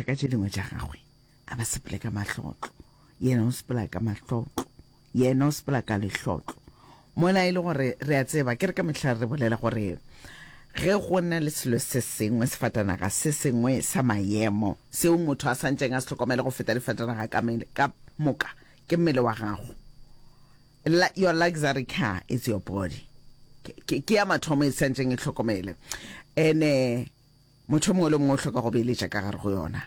Dithaka tše dingwe tša gagwe a ba sepele ka mahlotlo, yena o sepela ka mahlotlo, yena o sepela ka lehlotlo. Mola e le gore re a tseba, ke re ka mehla re bolela gore ge go na le selo se sengwe, sefatanaga se sengwe sa maemo seo motho a santšeng a se hlokomele go feta difatanaga ka, ka moka, ke mmele wa gago. La, your luxury car is your body. Ke, ke, ke ya mathomo e santšeng e hlokomele. Ene motho mongwe le mongwe o hloka go beeletša ka gare go yona.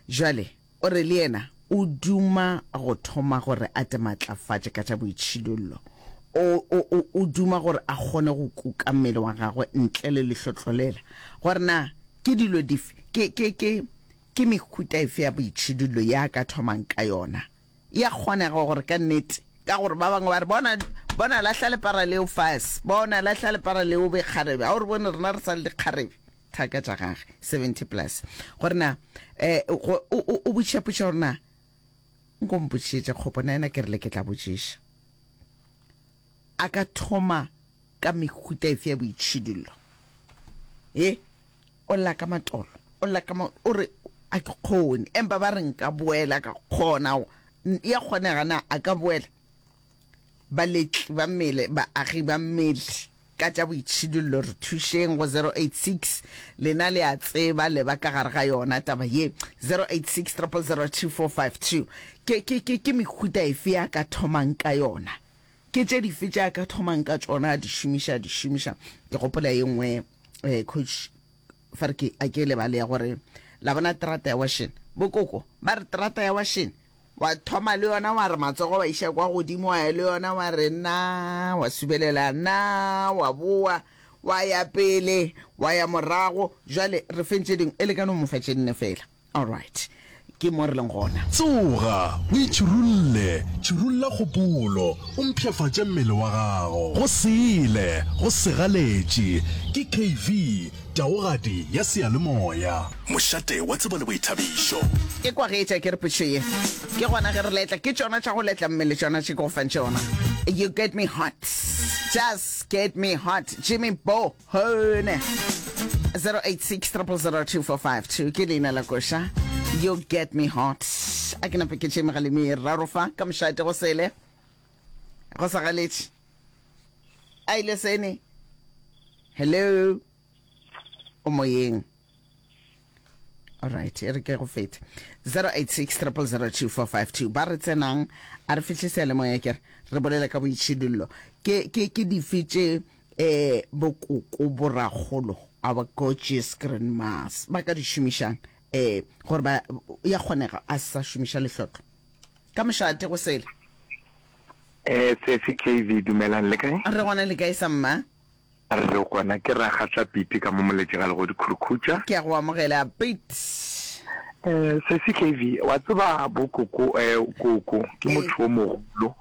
Jwale o re le yena o duma go thoma gore a te matlafatše ka tša boitšhidullo. O, o, o, o duma gore a kgone go kuka mmele wa gagwe ntle le lehlotlo lela. Gore na ke dilo dife, ke, ke, ke, ke mehuta efe ya boitšhidullo ye a ka thomang ka yona. Ya kgonega gore ka nnete, ka gore ba bangwe ba re, Bona, bona, lahla lepara leo fase. Bona, lahla lepara leo, o be kgarebe. A o re bone, rena re sa le dikgarebe. Thaka tša gage, 70 plus. Gore na, eh, go, o, o, o botšiša potšišo gore na, nko mpotšišetše kgopo, na yena ke rile ke tla botšiša. A ka thoma ka mehuta efe ya boitšhidullo? Ye? O lla ka matolo, o lla ka ma, o re, A ke kgone. Empa ba re nka boela, ka kgona. Ya kgonega na a ka boela? Baletli ba mmele, baagi ba mmele, ka tša boitšhidullo, re thušeng go 086, lena le a tseba, le ba ka gare ga yona taba ye, 086 000 2452. Ke, ke, ke, ke mehuta efe ya ka thomang ka yona? Ke tše dife tše a ka thomang ka tšona, a di šomiša, a di šomiša? Ke gopola ye nngwe, eh, coach, fa re ke, a ke lebale ya gore, la bona terata ya washene, bokoko, ba re terata ya washene, wa thoma le yona, wa re matsogo wa iša kwa godimo, wa ya le yona, wa re na, wa subelela na, wa boa, wa ya pele, wa ya morago, jwale re feng tše dingwe, e le ka no mo fa tše nne fela. Alright, ke mo re leng gona. Tsoga, o itšhirulle, tšhirulla kgopolo, o mpshafatše mmele wa gago. Go sele, go segaletše, ke KV, taogadi ya seyalemoya. Mošate wa tsebo le boithabišo. Ke kwa ge etša ke re potšo ye. Ke gona ge re letla. Ke tšona tša go letla mmele tšona tše ke go fang tšona. You get me hot. Just get me hot. Jimmy Bo. Hone 086 0002452 ke leina la koša You get me hot. A ke nape ke tše megalemi e raro fa ka mošate go sele go sa galetše a ile sene hello o moyeng Alright, e re ke go fete. 086 0002452 ba re tsenang a re fihle seyalemoya ke re re bolela ka boitšhidullo. Ke ke ke dife tše eh bokoko borakgolo our gorgeous grandmas ba ka di šomišang eh gore ba ya kgonega a sa šomiša lehlotlo. Ka mošate go sele. Eh sesi KV dumelang le kae? Re gona le kae sa mma? Re gona ke Ragatla Pete ka mo Moletši ga Legodi Khurkhutša. Ke a go amogela Pete. Eh, Sesi KV, wa tseba bo koko, eh, koko ke motho o mogolo.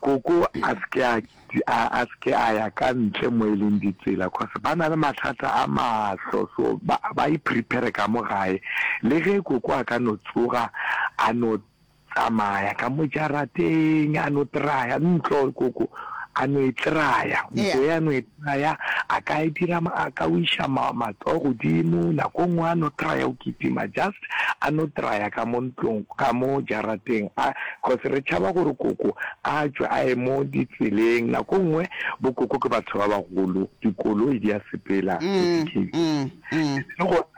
Koko a se ke a, a, a se ke a ya ka ntle mo e leng ditsela, cause ba na le mathata a mahlo, so ba, ba i-prepare ka mo gae. Le ge koko a ka no tsoga a no Tsamaya ka mo jarateng, a no traya ntlo, koko, a no e traya, ntlo ye a no e traya, a ka e dira, a ka o iša ma, matsogo godimo, nako nngwe a no traya o kitima, just a no traya ka mo ntlong, ka mo jarateng, a, cause re tšhaba gore koko a tšwe a ye mo ditseleng, nako nngwe bo koko ke batho ba bagolo, dikoloi di a sepela, le gona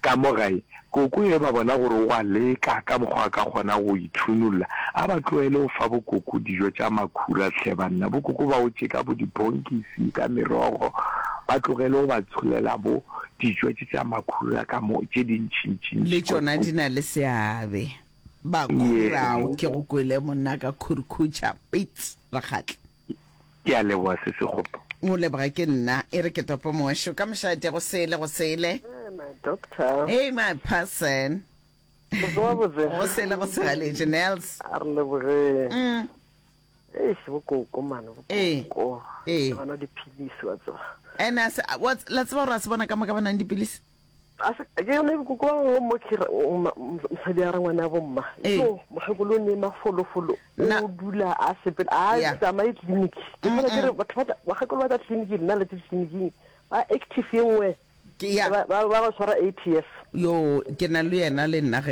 Ka mo gae, koko ge ba bona gore o a leka ka mokgwa a ka kgona go ithunolla, a ba tlohele go fa bokoko dijo tša makhura hle banna. Bokoko ba o tše ka bo dibonkisi, ka merogo, ba tlogele go ba tsholela bo dijo tše tša makhura ka mo tše dintšintšintši. Le tšona di na le seabe. Makhura ao ke go kwele monna ka khurkhutša Pitts Rakgatla. Ke a leboga sesi Kgopo. O leboga ke nna. E re ke tope mošo ka mošate go sele go sele. Hey my doctor. Hey my person. Botse wa botse. Go sele go segaletše Nels. A re lebogeng. Mm. Eish bokoko mane bokoko. Ee. Ba nwa dipilisi wa tseba. Ene a se wa la tseba gore a se bona ka moka ba nang dipilisi. A se ke yone bokoko ba bangwe mo ke mosadi a re ngwana bo mma. Yo mokgekolo o ne mafolofolo o dula a sepela a tsamaye clinic. Ke fela ke re batho ba bakgekolo ba tla clinic nna le tleliniking ba active ye nngwe. Ke ya ba ba tshwara ATS. Yo ke na le yena le nna ge.